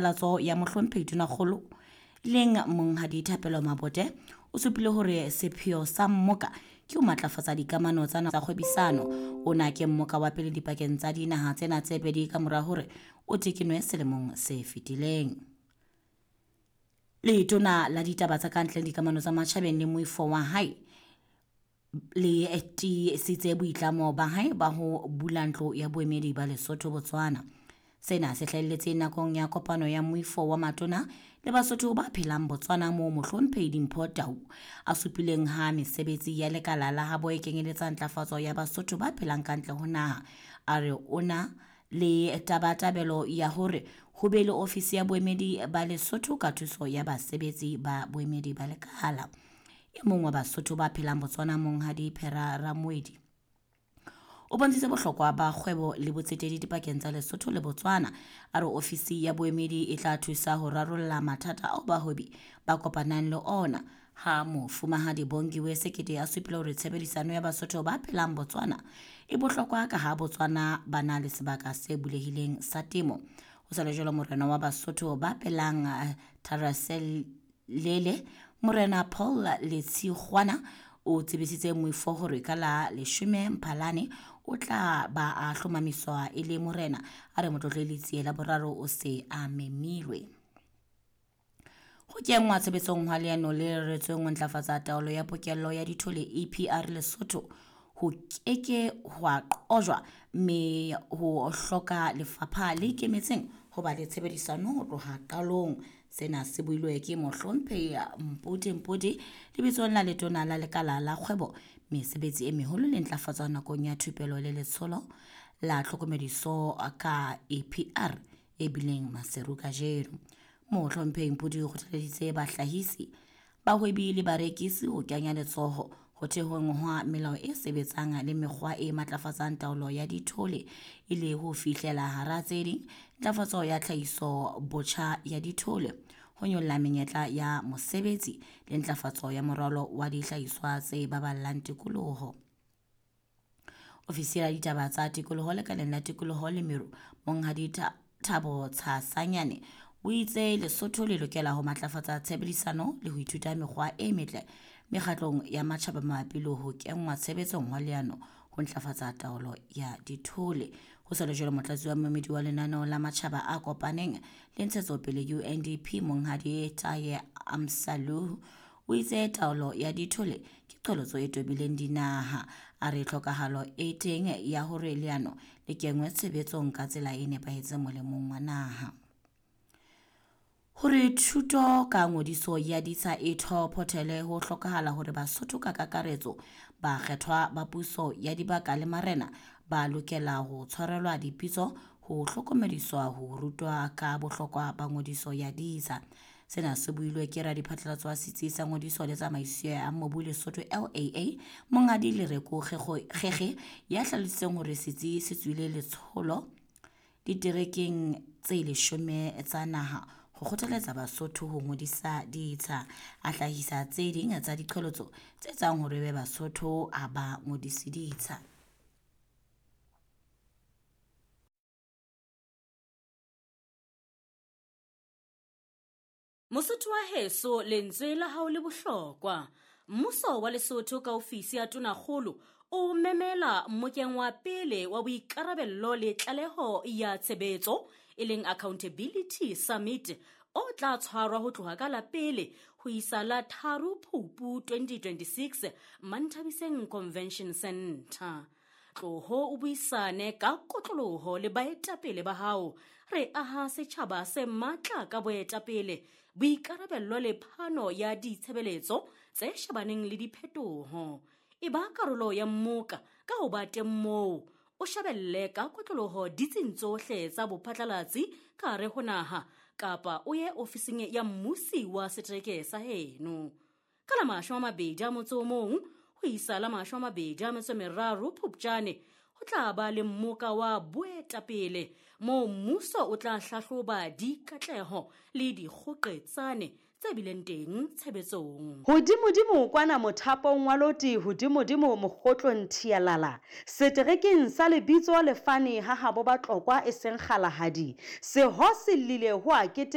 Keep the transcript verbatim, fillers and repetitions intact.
Latso ya Mohlomphehi Tonakgolo leng Monghadi Thapelo Mabote o supile hore sepheo sa mmoka ke ho matlafatsa dikamano tsa tsa kgwebisano. Ona ke mmoka wa pele dipakeng tsa dinaha tsena tse pedi ka mora hore o tekenwe selemong se fetileng. Letona la ditaba tsa kantle le dikamano tsa matjhabeng le moifo wa hae le tiisitse boitlamo ba hae ba ho bula ntlo ya boemedi ba Lesotho Botswana. Sena se hlahelletse nakong ya kopano ya moifo wa matona le Basotho ba phelang Botswana moo Mohlomphehi Dimpho Tau a supileng ha mesebetsi ya lekala la habo e kenyeletsa ntlafatso ya Basotho ba phelang ka ntle ho naha. A re o na le tabatabelo ya hore ho be le ofisi ya boemedi ba Lesotho ka thuso ya basebetsi ba boemedi ba lekala. E mong wa Basotho ba phelang Botswana Monghadi Phera Ramoedi o bontshitse bohlokwa ba kgwebo le botsetedi dipakeng tsa Lesotho le Botswana. A re ofisi ya boemedi e tla thusa ho rarolla mathata ao bahwebi ba kopanang le ona. Ha Mofumahadi Bongiwe Sekete a supile hore tshebedisano ya Basotho ba phelang Botswana e bohlokwa ka ha Botswana ba na le sebaka se bulehileng sa temo. Ho sa le jwalo, morena wa Basotho ba phelang Tharaselele Morena Paul Letshikgwana o tsebisitse moifo hore ka la leshome Mphalane o tla ba a hlomamiswa e le morena. A re Motlotlehi Letsie la boraro o se a memilwe. Ho kenngwa tshebetsong hwa leano le reretsweng ho ntlafatsa taolo ya pokello ya dithole E P R Lesotho ho keke hwa qojwa, mme ho hloka lefapha le ikemetseng ho ba le tshebedisano ho tloha qalong. Sena se builwe ke Mohlomphehi Mpodi Mpodi lebitsong la letona la lekala la kgwebo, mesebetsi e meholo le ntlafatso nakong ya thupelo le letsholo la tlhokomediso ka E P R e bileng Maseru kajeno. Mohlomphehi Mpodi o kgothaleditse bahlahisi, bahwebi le barekisi ho kenya letsoho ho thehweng hwa melao e sebetsang le mekgwa e matlafatsang taolo ya dithole e le ho fihlela hara tse ding ntlafatso ya tlhahiso botjha ya dithole, ho nyolla menyetla ya mosebetsi le ntlafatso ya moralo wa dihlahiswa tse baballang tikoloho. Ofisi ya ditaba tsa tikoloho lekaleng la tikoloho le meru Monghadi Thabo Tshasanyane o itse Lesotho le lokela ho matlafatsa tshebedisano le ho ithuta mekgwa e metle mekgatlong ya matjhaba mabapi le ho kenngwa tshebetsong hwa leano ho ntlafatsa taolo ya dithole. Ho sa le jwalo, motlatsi wa moemedi wa lenaneo la matjhaba a kopaneng le ntshetsopele U N D P Monghadi Taye Amsalu o itse taolo ya dithole ke qholotso e tobileng dinaha. A re tlhokahalo e teng ya hore leano le kenngwe tshebetsong ka tsela e nepahetseng molemong wa naha. Hore thuto ka ngodiso ya ditsha e thophothele ho hlokahala hore Basotho ka kakaretso ba kgethwa ba puso ya dibaka le marena ba lokela ho tshwarelwa dipitso ho hlokomediswa ho rutwa ka bohlokwa ba ngodiso ya ditsha. Sena se builwe ke radiphatlalatso wa setsi sa ngodiso le tsamaiso ya mobu Lesotho L A A Monghadi Lereko Kgekge ya hlalositseng hore setsi se tswile letsholo diterekeng tse leshome tsa naha ho kgothaletsa Basotho ho ngodisa ditsha. A hlahisa tse ding tsa diqholotso tse etsang hore be Basotho a ba ngodise ditsha. Mosotho wa heso, lentswe la hao le bohlokwa. Mmuso wa Lesotho ka ofisi ya Tonakgolo o memela mmokeng wa pele wa boikarabello le tlaleho ya tshebetso e leng Accountability Summit o tla tshwarwa ho tloha ka la pele ho isa la tharo Phupu twenty twenty-six Manthabiseng Convention Center. Tloho o buisane ka kotloloho le baetapele ba hao. Re aha setjhaba se matla ka boetapele, boikarabello le phano ya ditshebeletso tse shebaneng le diphetoho. E ba karolo ya mmoka ka ho ba teng moo, o shebelle ka kotloloho ditsing tsohle tsa bophatlalatsi ka hare ho naha kapa o ye ofising ya mmusi wa setereke sa heno. Ka la mashome a mabedi a motso o mong ho isa la mashome a mabedi a metso e meraro Phupjane ho tla ba le mmoka wa boetapele moo mmuso o tla hlahloba dikatleho le dikgoqetsane tse bileng teng tshebetsong. Hodimodimo kwana mothapong wa loti, hodimodimo mokgotlong thialala. Seterekeng sa lebitso lefane ha habo Batlokwa e seng kgalahadi. Seho se llile ho a kete